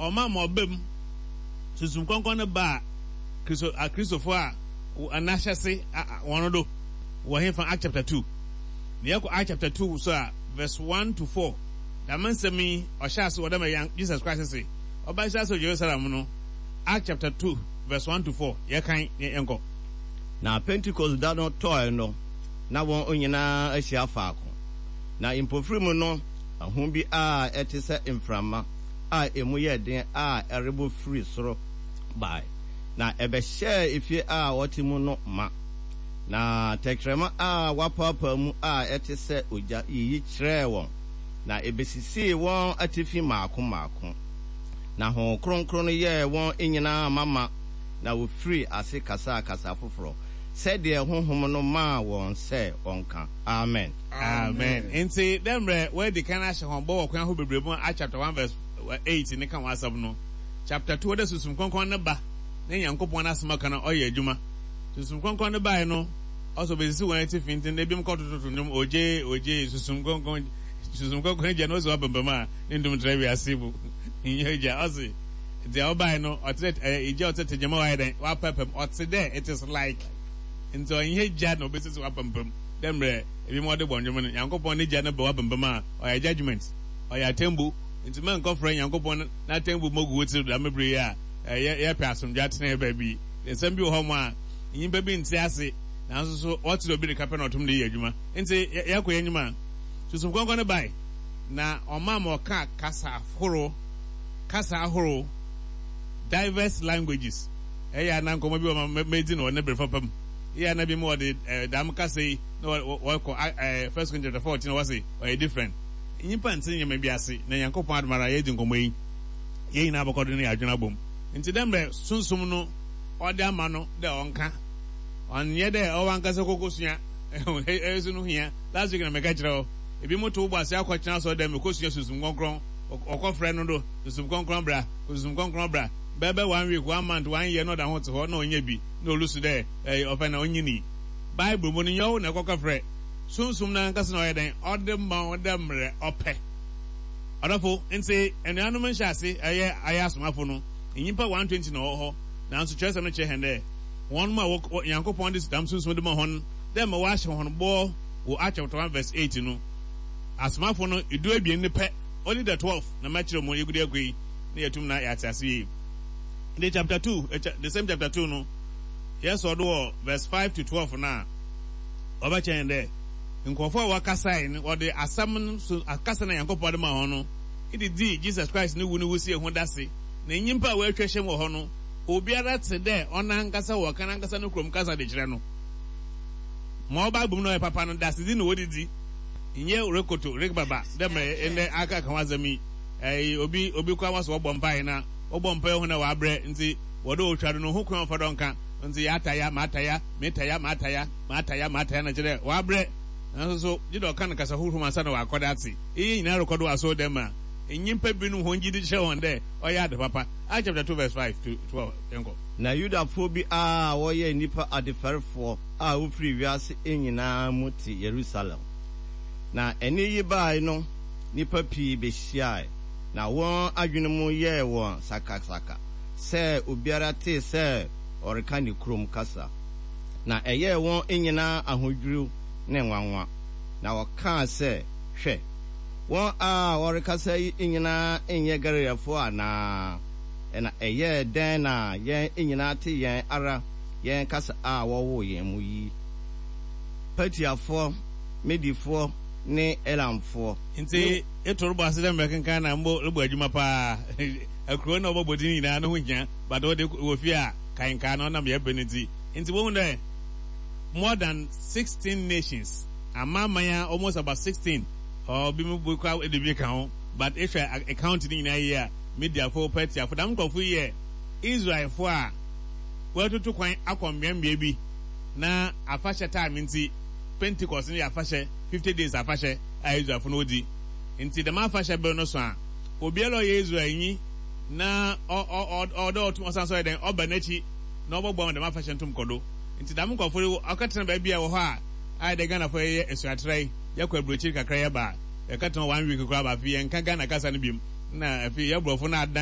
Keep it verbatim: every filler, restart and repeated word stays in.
Ɔma ma ɔba mu. Sunsum Krɔnkrɔn no baa Kristo Akristofo a n'ahyɛse hɔn do wɔ henfa? Act chapter two. Na yɛkɔ Act chapter two so a, verse one to four, dɛm nsɛm yi ɔhyɛ ase wɔ dɛ ma Jesus Christ se ɔbɛhyɛ ase wɔ Jerusalem no. Act chapter two verse one to four, yɛkan na yɛnkɔ. Na Pentekoste da no tɔe no, na wɔn nyinaa ahyia faako. Na mpofirim no, ahum bi a ɛte sɛ mframa a emu yɛ den a ɛrebɔ firi soro bae, na ɛbɛhyɛɛ efie a wɔte mu no ma. Na tɛkrɛma a wɔapaapaa mu a ɛte sɛ ogya yiyi kyerɛɛ wɔn, na ebesisii wɔn atifi mmaako mmaako. Na Honhom Kronkron no yɛɛ wɔn nyinaa mama, na wofirii ase kasaa kasa foforɔ, sɛdeɛ Honhom no maa wɔn sɛ wɔnka. Amen. Amen. Ntsi dɛ mbrɛ woedi kan ahyɛ hɔn bɔ wɔ kwan ahorow beberee mu Acts chapter one verse eight ne ka ho asɛm no, chapter two ɔdɛ Sunsum Krɔnkrɔn no ba na Nyankopɔn n'asɛm ɔka no ɔyɛ edwuma. Sunsum Krɔnkrɔn no bae no, ɔsɛ obesisi hɔn etsifi ntsi ndɛ binom kɔtototo ndwom, Ogye, ogye, Sunsum Krɔnkrɔn, Sunsum Krɔnkrɔn egya no osi hɔ apampam a ne ndwom tra wiase mu. Nnyɛ egya, ɔse dza ɔbae no ɔtse dɛ egya ɔtse dɛ tegyama ɔayɛ dɛn, ɔapaapam, ɔtse dɛ, it is like, ntsi ɔnnyɛ gya na obesisi hɔ apampam. Dɛ mbrɛ binom wɔdze bɔ ndwom no, Nyankopɔn ne gya no ba w'apampam a, ɔyɛ judgement, ɔyɛ atsɛmbu. Ntsi mma nnkɔfrɛ Nyankopɔn n'atsɛmbu mma ogu wo tsir do dɛm ber yi a yɛpɛ asomdwee atsena beebi. Nsɛm bi wɔ hɔ a nyimpa bi nntse ase, naaso so ɔtse dɛ obi reka pɛ na ɔtum dze yɛ edwuma. Ntsi yɛkɔ hɛn enyim a, Sunsum Krɔnkrɔn no bae, na ɔmaa ma ɔkaa kasa ahorow, kasa ahorow, diverse languages. Eyɛ a na nkɔmbɔ bi wɔ hɔ ma medzi no wɔ ne ber papa mu. Eyɛ a na binom wɔdze dɛm kasa yi na wɔkɔ First Corinthians chapter fourteen na wɔse ɔyɛ different. Nyimpa nntse ndzɛmba bi ase, na Nyankopɔn adom ara yedzi nkɔmbɔ yi, hɛn nyina bɔkɔ do na yɛadwen abɔ mu. Ntsi dɛ mbrɛ Sunsum no ɔdze ama no dɛ ɔnka, ɔnnyɛ dɛ ɔwankasa kɔkosua, eyi so no hia. Last week na mekã kyerɛ wo, binom to wo bo ase akɔtsena asɔr dɛm ekosua Sunsum Krɔnkrɔn, wɔkɔfrɛ no do, Sunsum Krɔnkrɔn bra, Sunsum Krɔnkrɔn bra, bɛyɛ one week, one month, one year na ɔda ho tse hɔ na ɔnnyɛ bi. Na olusu dɛ, Ei, ɔfɛ na onyinii. Bible mu no, nnyɛ ɔwo na ekɔkɔfrɛ. Sunsum no ankasa na ɔyɛ dɛn? Ɔdze ma wo dɛ mbrɛ ɔpɛ. Ɔdɔfo, ntsi enuanom nhyɛase yɛ ayɛ asomafo no, nyimpa one twenty na wɔwɔ hɔ, naaso kyerɛwsɛm no kyerɛ hɛn dɛ hɔn a wɔ Nyankopɔn dze dɛm Sunsum no ma hɔn dɛ ma wɔahyɛ hɔn bɔ wɔ Acts chapter one verse eight no, asomafo no duebien no pɛ, only the twelve, na mɛkyerɛw mu yegu do akɔ yi na yeetum na yɛatse ase yie. The chapter two, the same chapter two no, yɛsɔ do wɔ verse five to twelve no a, ɔbɛkyerɛ hɛn dɛ nkorɔfo a wɔkasae no, wɔdze asɛm no so kasa na Nyankopɔn dze maa hɔn no dze dzii Jesus Christ no wu no wusie ho dase. Na nyimpa a woetwa ahyia mu wɔ hɔ no, obiara tse dɛ ɔnankasa wɔka nankasa no kurom kasa dze kyerɛ no. Ma ɔba abɔ mu na ɔyɛ papa no, dasedzi na wɔdze dzi, nnyɛ rokoto rekbaba dɛ mbrɛ ndɛ aka ka ho asɛm yi. Ɛɛ, obi obi koraa wɔsɛ wɔbɔ mpae na wɔbɔ mpae hu na wɔabrɛ ntsi wɔdɛ otwa do no ho kwan ɔfa do ɔnka ntsi yɛataya mataya metaya mataya mataya mataya na kyerɛ dɛ wɔabrɛ nanso so gye dɛ ɔka no kasa huhum ansa na wɔakɔ do atse. Iyi nyina rokɔ do wɔ asɔr dɛm a nyimpa binom hɔn gyidi kyerɛ hɔn dɛ ɔyɛ ade papa. Acts chapter two verse five to twelve, yɛnkɔ. Na Yudafoɔ bi a wɔyɛ nnipa adefɛrefoɔ a wofiri wiase nyinaa mu te Yerusalem. Na ɛnne yi bae no, nnipa pii behyiae, na wɔn adwene mu yɛɛ wɔn sakasaka sɛ obiara tee sɛ ɔreka ne kurom kasa. Na ɛyɛɛ wɔn nyinaa ahodwiriw ne nwanwa, na wɔkaa sɛ, Hwɛ, wɔn a wɔrekasa yi nyinaa nyɛ Galileafo anaa? Ɛnna ɛyɛɛ dɛn na yɛn nyinaa te yɛn ara yɛn kasa a wɔwoo yɛn mu yi? Patiafoɔ, Medifoɔ ne Elamfoɔ. Ntsi eto robɔ ase dɛ mbrɛ kenkan na mbo robɔ edwuma paa. Akurow na wɔbɔbɔ dzin nyinaa no ho hia but wɔde wɔ fie a kae nkaa na ɔnam yɛbrɛ no ntsi. Ntsi wohu dɛ more than sixteen nations, amanaman a almost about sixteen or bi mu bi koraa de bi ka ho but ehwɛ count ne nyinaa yie a, Mediafo, Persiafo, dɛm nkorɔfo yi yɛ Israelfo a wɔatutu kwan akɔ mbeambea bi na afahyɛ time ntsi, Pentecost no yɛ afahyɛ, fifty days afahyɛ a Israelfo no wodzi. Ntsi dɛm afahyɛ ber no so a, obiara a ɔyɛ Israelnyi na ɔwɔ dɛ ɔtum ɔsan so ɔyɛ dɛn, ɔba n'ekyir na ɔbɔboa ma dɛm afahyɛ no tum kɔ do. Ntsi dɛm nkorɔfo yi wɔkɛtsena beebi a wɔ hɔ a ayɛ dɛ Ghanafo yɛyɛ esuatra yi, yɛkɔ aborɔkyir kakra yɛba a, yɛkɛtsena hɔ one week koraa ba afei yɛnnka Ghana kasa no bio. Nna afei yɛ Borɔfo no adan.